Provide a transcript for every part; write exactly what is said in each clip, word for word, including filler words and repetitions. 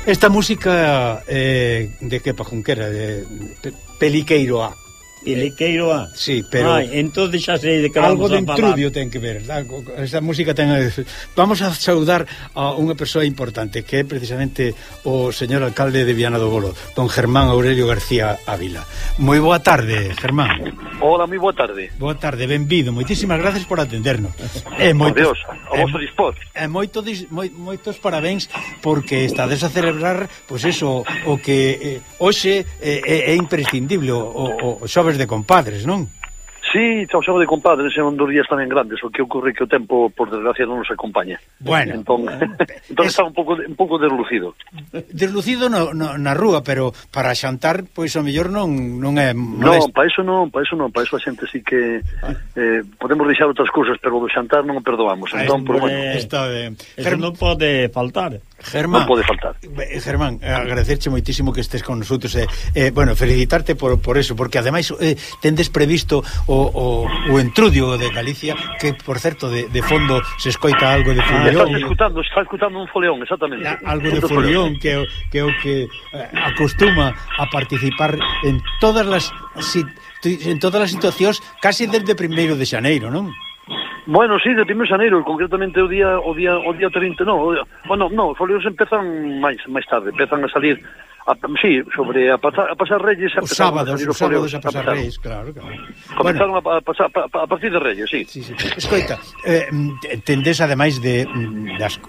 Esta música eh, de que pajunquera, de Peliqueiro A. Peliqueiro A. Sí, pero Ai, entón xa sei de que algo vamos de a falar. Intrudio ten que ver. Esta música ten. Vamos a saudar a unha persoa importante, que é precisamente o señor alcalde de Viana do Bolo, don Germán Aurelio García Ávila. Moi boa tarde, Germán. Hola, moi boa tarde. Boa tarde, benvido. Moitísimas gracias por atendernos. E moitos, Dios, a vosso dispor. E moito, moi, moitos parabéns porque estades a celebrar, pois pues eso, o que eh, hoxe é, é imprescindible, o, o xoves de compadres, non? Sí, chao, chao de compadres, son dos días tamén grandes, o que ocorre que o tempo, por desgracia, non nos acompaña. Bueno. Entón, entón es... está un pouco un pouco deslucido. Deslucido no, no, na rúa, pero para xantar, pois o mellor non, non é molesto. Non, para iso non, para iso non, para iso a xente sí que eh, podemos deixar outras cousas, pero do xantar non o perdoamos. Entón, por bueno, está ben. Eso non pode faltar. Germán, non pode faltar. Germán, agradecerche moitísimo que estés con nosotros e, eh, bueno, felicitarte por, por eso, porque ademais eh, tendes previsto o, o, o Entrudio de Galicia, que por certo de, de fondo se escoita algo de foleón. Está escutando, está escutando un foleón, exactamente. La, algo de foleón que, que o que eh, acostuma a participar en todas las si, en todas as situacións, casi desde primeiro de xaneiro, non? Bueno, sí, de primeiro de xaneiro, concretamente o día o día o día trinta, no, o día, bueno, no, os foleóns empezan máis máis tarde, empezan a salir a, sí, sobre a pasar a pasar Reyes, os sábados, os sábados a pasar Reyes, claro, claro. Comenzaron bueno, a pasar a, a partir de Reyes, sí. Sí, sí. Escoita, eh, tendes ademais de das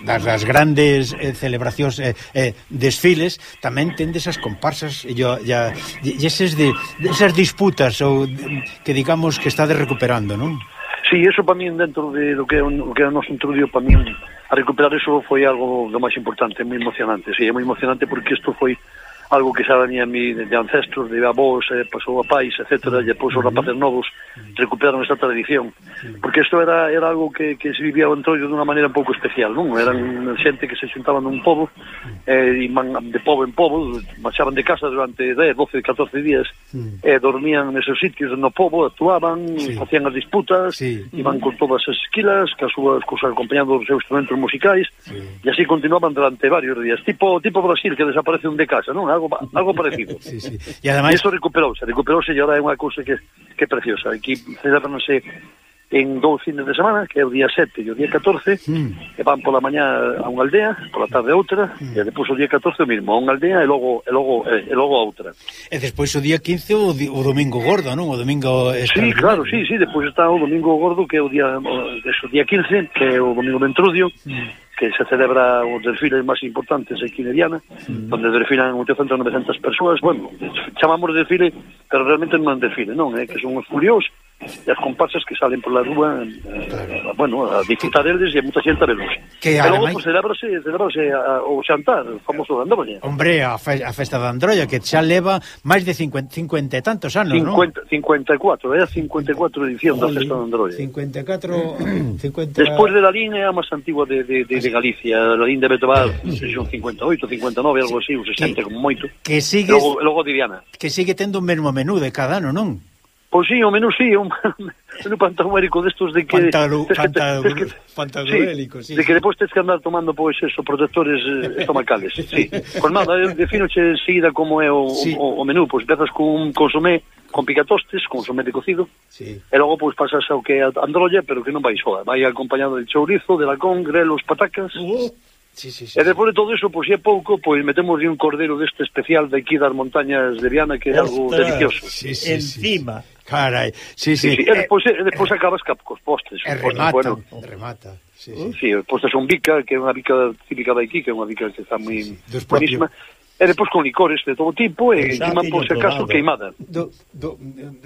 das, das grandes eh, celebracións eh, eh, desfiles, tamén tendes as comparsas e ya e esas de esas disputas ou que digamos que estades recuperando, non? Sí, eso para min dentro de lo que é o que é o noso Entrudio, para min a recuperar eso foi algo do máis importante, moi emocionante. Sí, é moi emocionante porque isto foi algo que xa venía a mí de ancestros, de avós, eh, pasou a pais, etcétera, e depois os rapaces novos recuperaron esta tradición, porque isto era era algo que, que se vivía o Entroido dunha maneira un pouco especial, non? Eran xente que se xuntaban nun pobo, eh, e man, de pobo en pobo, marchaban de casa durante dez, doce, catorce días, e eh, dormían neses sitios no pobo, actuaban, sí. facían as disputas, sí. iban con todas as esquilas, que as súas cosas acompañando os seus instrumentos musicais, sí. e así continuaban durante varios días, tipo tipo Brasil, que desaparece un de casa, non? Algo, algo parecido. Sí, sí. E ademais... iso recuperouse, recuperouse e agora é unha cousa que, que é preciosa. Aquí celebranse en dous fines de semana, que é o día sete e o día catorce, mm. e van pola mañá a unha aldea, pola tarde a outra, mm. e depois o día catorce o mismo, a unha aldea e logo e logo e logo a outra. E despois o día quince o, di, o domingo gordo, non? O domingo Sí, claro, sí, sí, despois está o domingo gordo, que é o día o, o día quince, que é o domingo de Entrudio. Mm. que se celebra os desfiles máis importantes aquí en Viana, mm. donde desfilan oitocentas, novecentas persoas. Bueno, chamamos desfile, pero realmente non é desfile, non, é que son os furiós e as comparsas que salen por la rúa, eh, bueno, a disfrutar eles e a mucha xente a velos. Que pero logo, pues, celebrase, celebrase a, o xantar, o famoso de Androlla. Hombre, a, fe, a festa de Androlla, que xa leva máis de cincuenta, cincuenta e tantos anos, non? cincuenta e catro, é a cincuenta e catro edición da festa de Androlla. cincuenta e catro... cincuenta... Despois de la Lín é a máis antigua de, de, de, de Galicia, la Lín debe tomar, son cincuenta e oito, cincuenta e nove, algo así, ou sesenta, como moito. Que sigue... Logo, logo de Viana. Que sigue tendo o mesmo menú de cada ano, non? Pois sí, o menú sí, un menú pantagruélico destos de que... Pantagruélico, sí. De que depois tens que andar tomando, pois, eso, protectores eh, estomacales, sí. Pois nada, definoche seguida como é o, sí. o, o menú, pois empezas con un consomé con picatostes, consomé de cocido, sí. e logo pois pasas ao que é Androlla, pero que non vai soa, vai acompañado de chourizo, de lacón, grelos, patacas... Uh. Sí, sí, sí, e despois de todo iso, pois, se é pouco, pois metemos un cordero deste especial de aquí das montañas de Viana, que é algo delicioso. Sí, sí, encima. Sí. Carai, sí, sí. sí, sí. E despois, e despois acabas cos postres. E remata, bueno, remata. Sí, sí. Sí, postres son bica, que é unha bica típica de aquí, que é unha bica que está moi sí, sí. buenísima. E depois con licores de todo tipo, e encima, por se acaso, queimada. Do, do,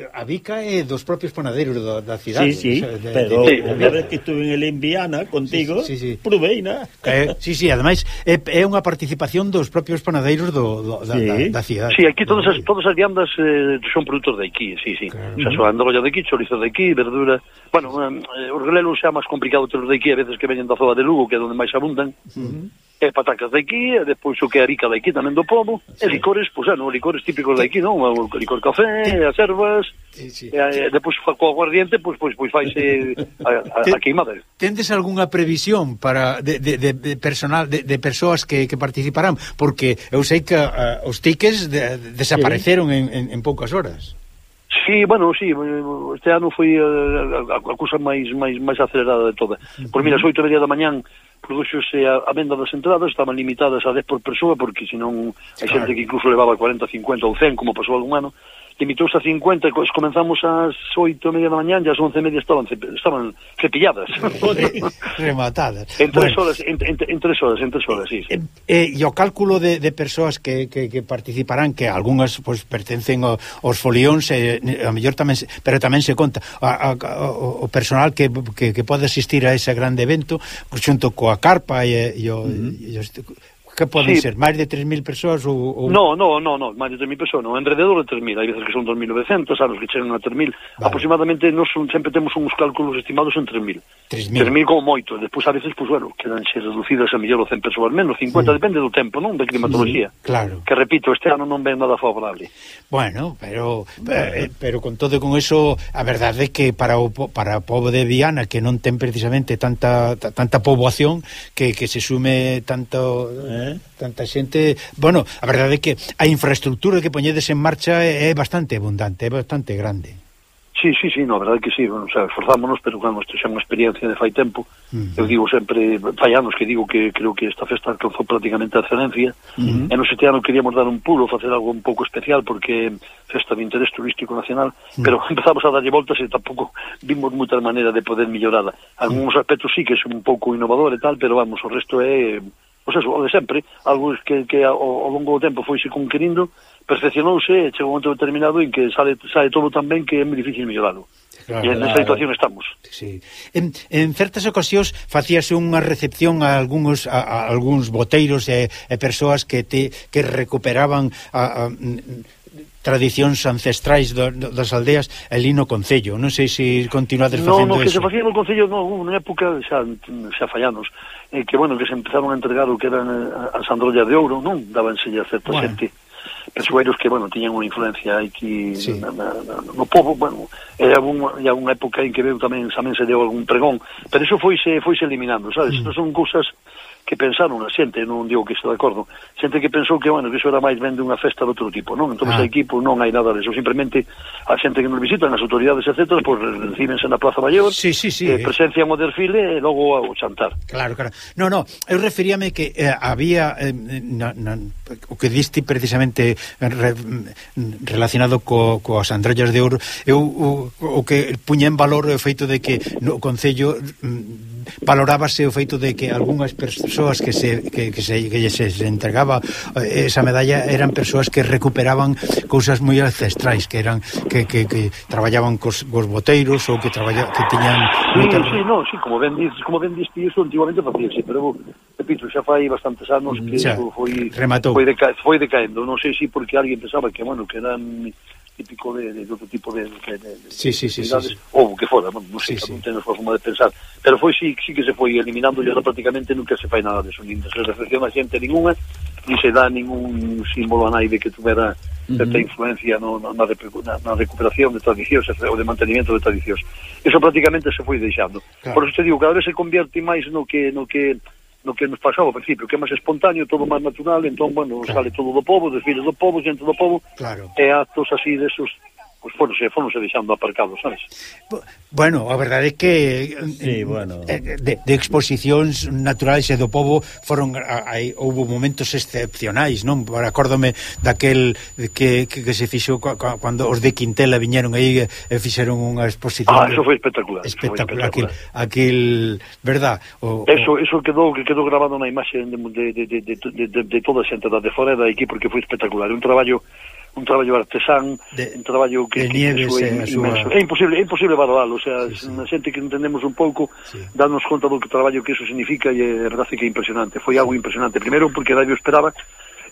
a bica é dos propios panadeiros do, da cidade. Sí, sí, o sea, de, pero de, de, a vez que estuve en Viana contigo, sí, sí, sí. provei, na? Eh, sí, sí, ademais, é, é unha participación dos propios panadeiros do, do, da, sí. da, da cidade. Sí, aquí todas as, todas as viandas eh, son produtos de aquí, sí, sí. Claro. O sea, son androlla de aquí, chorizo de aquí, verdura... Bueno, eh, os grelos xa máis complicado ter os de aquí, a veces que veñen da zona de Lugo, que é onde máis abundan. Uh -huh. e patacas de aquí, e depois o que é arica de aquí tamén do pobo, sí. E licores, pois, pues, non, licores típicos de aquí, non? O licor café, sí. As ervas, sí, sí. E, e depois co aguardiente, pois, pois, pois faise a, a, a queimada. Tendes algunha previsión para de, de, de, de personal, de, de persoas que, que participarán? Porque eu sei que uh, os tickets de, desapareceron sí. en, en, en poucas horas. Sí, bueno, sí, este ano foi a, a, a cousa máis máis máis acelerada de toda. Por mira, as oito e media da mañán produxose a, a venda das entradas, estaban limitadas a dez por persoa, porque senón hai xente que incluso levaba cuarenta, cincuenta ou cen, como pasou algún ano, limitouse a cincuenta, e comenzamos ás oito e media da mañán, e ás once e media estaban, estaban cepilladas. Rematadas. En tres bueno. horas, en, en, en tres horas, en tres horas, sí. sí. E eh, o cálculo de, de persoas que, que, que participarán, que algunhas pues, pertencen ao, aos folións, eh, a mellor tamén, pero tamén se conta a, a, a, o personal que, que, que pode asistir a ese grande evento, xunto coa carpa e, e, o, uh-huh. e os, que poden sí. ser? Máis de tres mil persoas ou, ou... No, no, no, no, máis de tres mil persoas, no, enrededor de tres mil, hai veces que son dos mil novecentos, anos que chegan a tres mil, vale. Aproximadamente nos son, sempre temos uns cálculos estimados en tres mil. tres mil como moito, despois a veces, pues, bueno, quedanse reducidas a mellor o cen persoas menos, cincuenta, sí. Depende do tempo, non? De climatología. Sí, claro. Que, repito, este ano non ven nada favorable. Bueno, pero eh, pero con todo con eso, a verdade é que para o, para o pobo de Viana, que non ten precisamente tanta tanta poboación, que, que se sume tanto... Eh? tanta xente, bueno, a verdade é que a infraestructura que poñedes en marcha é, é bastante abundante, é bastante grande. Sí, sí, sí, no, a verdade é que sí, bueno, o sea, esforzámonos, pero cando isto xa é unha experiencia de fai tempo, uh-huh. Eu digo sempre, fai anos que digo que creo que esta festa alcanzou prácticamente a excelencia, uh-huh. E nos este ano queríamos dar un pulo, facer algo un pouco especial, porque festa de interés turístico nacional, uh-huh. Pero empezamos a darlle voltas e tampouco vimos moitas maneiras de poder mellorada. Algúns uh-huh. aspectos sí que é un pouco innovador e tal, pero vamos, o resto é... Pois eso, o de sempre, algo que, que ao, ao longo do tempo foise conquerindo, perfeccionouse, e chega un momento determinado en que sale, sale todo tan ben que é moi difícil melloralo. Claro, e en esa situación estamos. Sí. En, en certas ocasións facíase unha recepción a algúns a, a algúns boteiros e, e persoas que te que recuperaban a, a, tradicións ancestrais do, do, das aldeas ali no Concello. Non sei se continuades facendo no, no, eso. No, que se facía no Concello, no, na época xa, xa fallanos, eh, que, bueno, que se empezaron a entregar o que eran as androllas de ouro, non? Dábanse a certa bueno. xente, persoeiros que, bueno, tiñan unha influencia aquí sí. na, na, na, no povo, bueno, era unha, unha época en que veu tamén, tamén se deu algún pregón, pero eso foise, foise eliminando, sabes? Mm. Son cousas que pensaron a xente, non digo que estou de acordo, xente que pensou que, bueno, que iso era máis ben de unha festa de outro tipo, non? Entón, ah. aquí, pues, non hai nada de eso, simplemente a xente que nos visitan, as autoridades, etcétera, pues, recíbense na Plaza Maior, sí, sí, sí, eh, presencian o desfile e logo o chantar. Claro, claro. No, no, eu referíame que eh, había eh, na, na, o que diste precisamente re, relacionado co, coas androllas de ouro, eu o, o que puña en valor o feito de que no Concello valorábase o feito de que algunhas persoas que se que, que se que se, se entregaba esa medalla eran persoas que recuperaban cousas moi ancestrais, que eran que, que, que traballaban cos, cos boteiros ou que traballa, que tiñan sí, muita... sí, no, sí, como ben dices, como ben dices, iso antiguamente facíase, pero repito, xa fai bastantes anos que xa, foi rematou. foi, deca, foi decaendo, non sei se porque alguén pensaba que, bueno, que eran típico de, de outro tipo de, de, de, sí, sí, sí, sí, sí. ou que fora, non sei, sí, non sí. Ten a forma de pensar, pero foi sí, sí que se foi eliminando e ahora prácticamente nunca se fai nada de eso, nin se reflexiona a xente ninguna, ni se dá ningún símbolo a naide que tuvera certa uh-huh. influencia no, na, na, na recuperación de tradicións ou de mantenimiento de tradicións. Eso prácticamente se foi deixando. Claro. Por eso te digo, cada vez se convierte máis no que no que no que nos pasaba ao principio, que é máis espontáneo, todo máis natural, entón, bueno, claro. Sale todo do povo, desfiles do povo, xente do povo, claro. E actos así desos, pois pues, foronse, foronse deixando aparcados, sabes? Bueno, a verdade é que sí, bueno. de, de exposicións naturais e do povo foron, hai, houve momentos excepcionais, non? Acórdome daquel que, que, que se fixo cando os de Quintela viñeron aí e fixeron unha exposición. Ah, eso foi espectacular. Espectacular, aquel, aquel, verdad? O, eso, eso quedou que quedou grabado na imaxe de, de, de, de, de, de, de toda a xente da de fora da aquí, porque foi espectacular, un traballo un traballo artesán, de, un traballo que, que, que é inmenso. É imposible, é imposible valoralo, o sea, sí, sí. Na xente que entendemos un pouco, sí. Darnos conta do que traballo que eso significa, e é verdade que é impresionante, foi algo impresionante. Primeiro porque nadie o esperaba,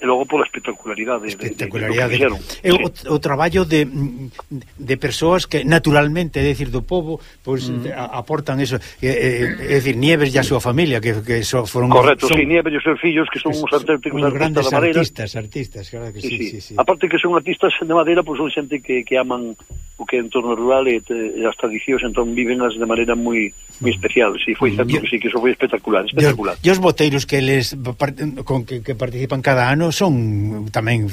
e logo pola espectacularidade, espectacularidade. De, de, de é o, sí. o traballo de, de persoas que naturalmente, é dicir, do povo, pois pues, mm. aportan eso, é, é, é dicir, Nieves e a súa familia que, que so, foron correcto, son, sí, Nieves e os seus fillos que son sí, uns auténticos artistas da madeira, artistas, artistas, claro que sí, sí, sí, sí. Aparte que son artistas de madeira, pois pues, son xente que, que aman o que é entorno rural e, e as tradicións, entón vivenlas de maneira moi moi especial, si sí, foi certo que sí, que eso foi espectacular, espectacular. E os boteiros que les con que, que participan cada ano son tamén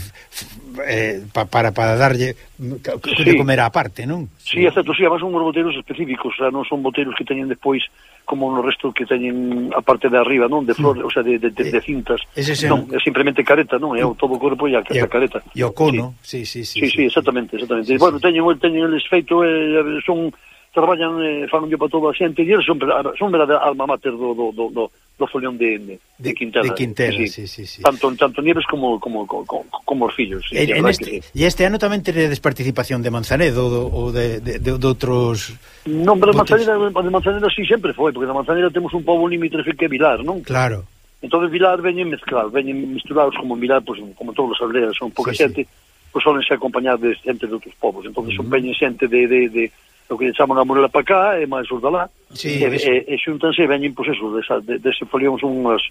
eh, pa, para para darlle que sí. comer á parte, non? Sí, é certo, sí, además son uns boteiros específicos, o sea, non son boteiros que teñen despois como no resto que teñen a parte de arriba, non? De flores, mm. o sea, de, de, de, de cintas. Ese non, é simplemente careta, non? É o todo o corpo e a, a careta. E o cono, sí, sí, sí. Sí, sí, sí, exactamente, exactamente. Sí, bueno, teñen, teñen eles feito, eh, son traballan, eh, fan yo para toda a xente, e eles son, son verdade alma mater do, do, do, do, do folión de, de, de Quintela. De Quintela, sí, sí, sí, sí. Tanto, tanto Nieves como, como, como, como os fillos. Sí, en, en este, e este ano tamén teredes participación de Manzanedo ou de, de, de, de outros... Non, pero de Manzaneda, de Manzaneda sí sempre foi, porque de Manzaneda temos un pobo limítrofe que é Vilar, non? Claro. Entón Vilar veñen mezclados, veñen misturados como en Vilar, pues, como todos os aldeas, son pouca sí, xente, sí. Pois solen ser acompañados de xente de outros povos, entón uh -huh. son veñen xente de... de, de o que chaman a Morela para cá, e máis os de lá, sí, e, e, e xuntanse e veñen, pois eso, desa, de, dese folión son unhas,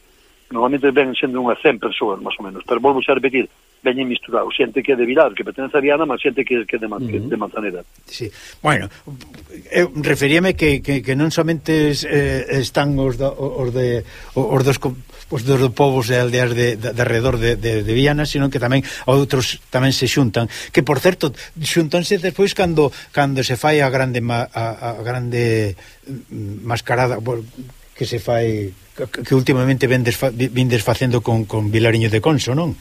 normalmente ven sendo unhas cen persoas, máis ou menos, pero volvo a repetir, veñen misturados, xente que é de Vilar, que pertenece a Viana, mas xente que, que é de, uh -huh. que de Manzaneda. Sí, bueno, eu referíame que, que, que non somente eh, están os, da, os de os dos os dos povos e aldeas de, de, de alrededor de, de, de Viana, sino que tamén outros tamén se xuntan, que por certo xuntanse despois cando cando se fai a grande ma, a, a grande mascarada que se fai que, que últimamente vendes vindes facendo con, con Vilariño de Conso, non?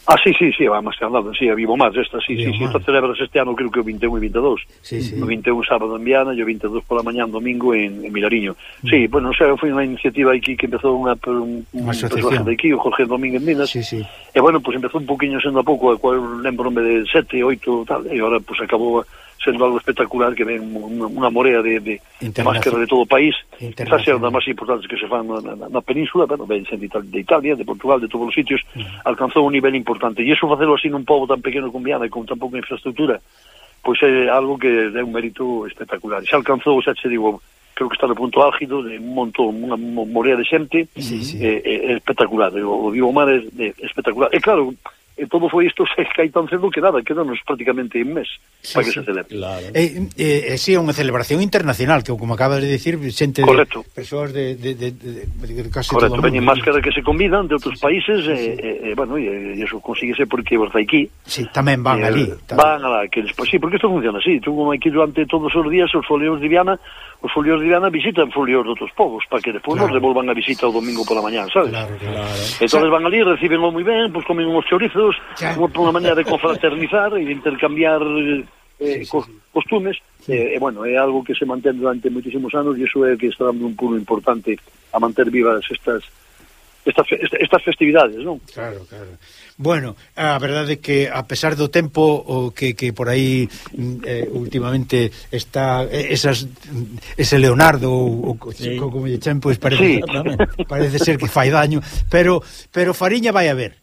Ah, sí, sí, sí, va máis que andado, sí, a Vivo Más, esta, sí, Vivo sí, sí, esta celebras este ano, creo que o vinte e un e vinte e dous. Sí, sí. O vinte e un sábado en Viana e o vinte e dous pola mañán domingo en, en Milariño. Mm. Sí, bueno, o sea, foi unha iniciativa aquí que empezou unha un, un asociación de aquí, o Jorge Domínguez Minas. Sí, sí. E bueno, pues empezou un poquinho sendo a pouco, a cual lembrome de sete, oito, tal, e agora pues acabou sendo algo espectacular que ven unha, unha morea de, de, de máscara de todo o país. Está sendo das máis importantes que se fan na, na, na península, pero ven sendo de Italia, de Portugal, de todos os sitios, mm. alcanzou un nivel importante. E iso facelo así nun pobo tan pequeno como Viana e con tan pouca infraestructura, pois é algo que é un mérito espectacular. E se alcanzou, xa te digo, creo que está no punto álgido de un montón, unha morea de xente, sí, sí. É, é espectacular. O, o Vivo Mar é, é espectacular. E claro, e todo foi isto se cae tan cedo que nada, quedanos prácticamente un mes sí, para que sí, se celebre. Claro. E, e, e si é unha celebración internacional, que como acabas de dicir, xente de persoas de, de, de, de, de casi correcto, todo o mundo. Veñen máscaras que se convidan de outros países, sí, sí. E, e, bueno, e, e eso consíguese porque os aquí. Sí, tamén van e, ali. Van alá, que despois, sí, porque isto funciona así, tú aquí durante todos os días os folios de Viana, os folios de Viana visitan folios de outros povos, para que despois claro. Nos devolvan a visita o domingo pola mañán, sabes? Claro, claro. Entón van ali, recibenlo moi ben, pois comen uns chorizos, como por unha maneira de confraternizar e de intercambiar eh, sí, sí, sí. costumes, sí. E, eh, bueno, é algo que se mantén durante moitísimos anos e iso é que está dando un pulo importante a manter vivas estas estas, estas festividades, non? Claro, claro. Bueno, a verdade é que a pesar do tempo o que, que por aí eh, últimamente está esas ese Leonardo ou sí. como lle chen, pois parece, sí. parece ser que fai daño, pero pero fariña vai a ver.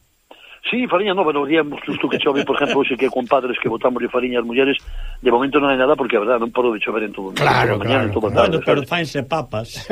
Sí, fariña non, pero diamos justo que chove, por exemplo, hoxe que con padres que botamos de fariña as mulleres, de momento non hai nada porque a verdade non paro de chover en todo. Claro, mañana, claro. En todo bueno, tarde, pero fainse papas.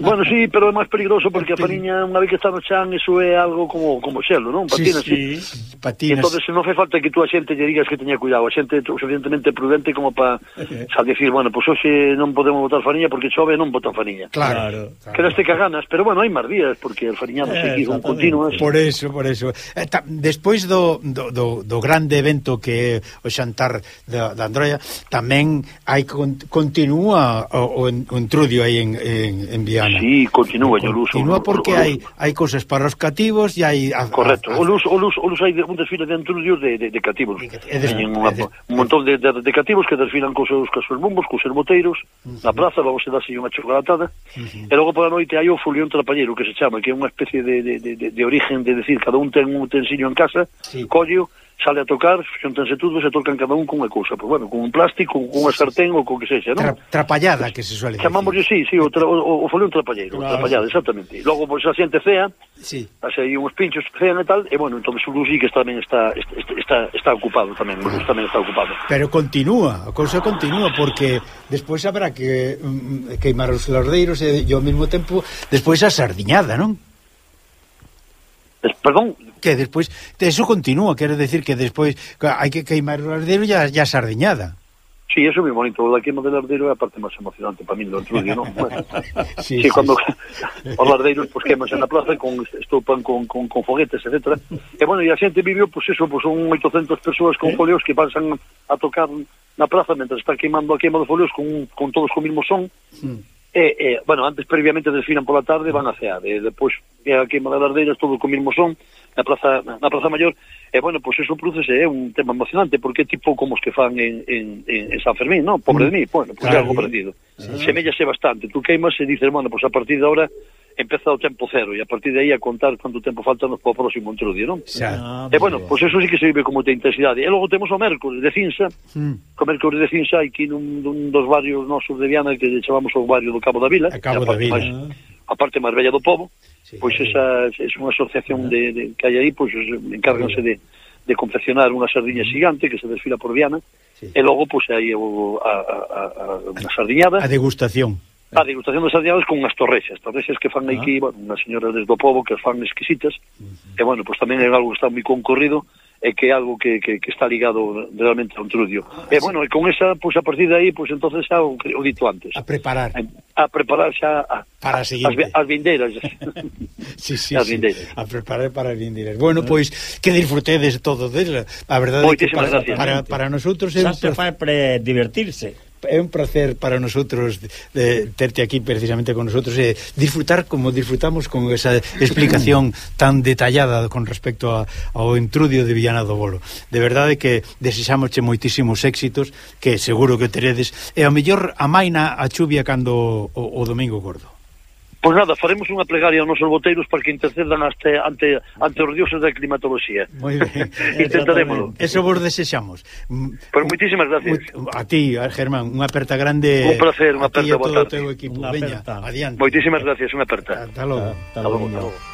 Bueno, sí, pero é máis peligroso porque a fariña, unha vez que está no chan, eso é algo como como xelo, non? Patinas, sí, sí. sí. Patinas. Entonces non fai falta que tú a xente lle digas que teña cuidado, a xente é suficientemente prudente como para okay. Xa decir, bueno, pois pues hoxe non podemos botar fariña porque chove, non botan fariña. Claro. claro. Quedaste cagas, pero bueno, hai máis días porque el fariñado eh, seguido continuas. Por eso, por eso. Eh, ta, despois do Do, do, do grande evento que é o xantar da, da Androia, tamén hai con, continúa o, o, o entrudio aí en, en, en Viana. Sí, continúa, o Luz. Continúa porque hai hai cousas para os cativos e hai a, correcto, a, a, o Luz, o Luz, o Luz hai un desfile de entrudios de, de, de cativos. E des, unha, des, un montón de, de, de cativos que desfilan cos seus, cos seus bombos, cos seus boteiros, uh -huh. na praza, vamos a darse unha chocolatada, uh -huh. e logo pola noite hai o folión trapallero que se chama, que é unha especie de, de, de, de, de origen de decir, cada un ten un utensilio en casa, sí. collo sale a tocar, xuntanse todos e tocan cada un con unha cousa, pois bueno, con un plástico, con unha sartén ou con que sexa, non? Tra trapallada, que se suele decir. Chamamos, sí, sí, o, tra o, o folión trapalleiro, claro. Trapallada, exactamente. E logo, pois, a xente cea, sí. Así aí uns pinchos que cean e tal, e bueno, entón o Lucí que tamén está, está, está, está ocupado tamén, ah. tamén está ocupado. Pero continúa, a cousa continúa, porque despois habrá que um, queimar os lardeiros e, e ao mesmo tempo, despois a sardiñada, non? Perdón? Que despois, eso continúa, quere decir que despois hai que queimar o lardero e a, a sardiñada. Sí, eso é moi bonito, la queima del lardero é a parte máis emocionante para mí do Entrudio, non? Bueno, sí, sí, sí, cando sí. Os lardeiros pues, quemanse na plaza, con, estupan con, con, con foguetes, etcétera. E bueno, e a xente viviu, pois pues, eso, pues, son oitocentas persoas con ¿Eh? Folios que pasan a tocar na plaza mentre está queimando a queima de folios con, con todos co mismo son. Mm. E, e, bueno, antes previamente desfilan pola tarde, van a cear, e depois é a queima das lardeiras, todo co mismo son, na praza, na praza Maior, e bueno, pois pues eso produce é un tema emocionante, porque é tipo como os que fan en, en, en San Fermín, non? Pobre de mí, bueno, pois pues claro, é algo parecido. Sí. Semellase bastante, tú queimas e dices, bueno, pois pues a partir de ahora empeza o tempo cero, e a partir de aí a contar quanto tempo falta no próximo Entrudio, non? Ah, e bueno, pois pues eso sí que se vive como de intensidade. E logo temos o mércores de Cinsa, mm. o mércores de Cinsa aquí nun, nun dos barrios nosos de Viana que chamamos o barrio do Cabo da Vila, a Cabo da Vila. Máis, a parte máis bella do pobo, sí, pois pues esa é unha asociación de, de, que hai aí, pois pues, encárganse de, de confeccionar unha sardiña xigante que se desfila por Viana, sí. E logo pois pues, aí o, a, a, a, a sardiñada. A degustación. A degustación das sardiñadas con unhas torrexas, torrexas que fan aquí, ah. bueno, unhas señoras desde o pobo que as fan exquisitas, uh-huh. E bueno, pois pues, tamén é algo que está moi concorrido, e que é algo que, que, que está ligado realmente a un Entrudio. Ah, e bueno, e con esa, pois pues, a partir de aí, pois pues, entonces xa o, o dito antes. A preparar. A, a preparar xa a, para a seguinte. As, as vindeiras. Sí, sí, as sí. vindeiras. A preparar para as vindeiras. Bueno, pois, pues, que disfrutedes todo dela. A verdade é que para, para, para, para nosotros é xa se fai para divertirse. É un placer para nosotros de terte aquí precisamente con nosotros e disfrutar como disfrutamos con esa explicación tan detallada con respecto a, ao Entrudio de Viana do Bolo. De verdade que desexámosche moitísimos éxitos que seguro que teredes, e ao mellor amaina a chuvia cando o, o Domingo Gordo. Pois nada, faremos unha plegaria aos nosos boteiros para que intercedan ante, ante, ante os dioses da climatoloxía. Moi ben. Intentarémolo. Eso vos desexamos. Pois moitísimas gracias. A ti, a Germán, unha aperta grande. Un placer, unha aperta, boa tarde. A ti e todo o teu equipo. Veña, adiante. Moitísimas gracias, unha aperta. Hasta logo. Hasta logo.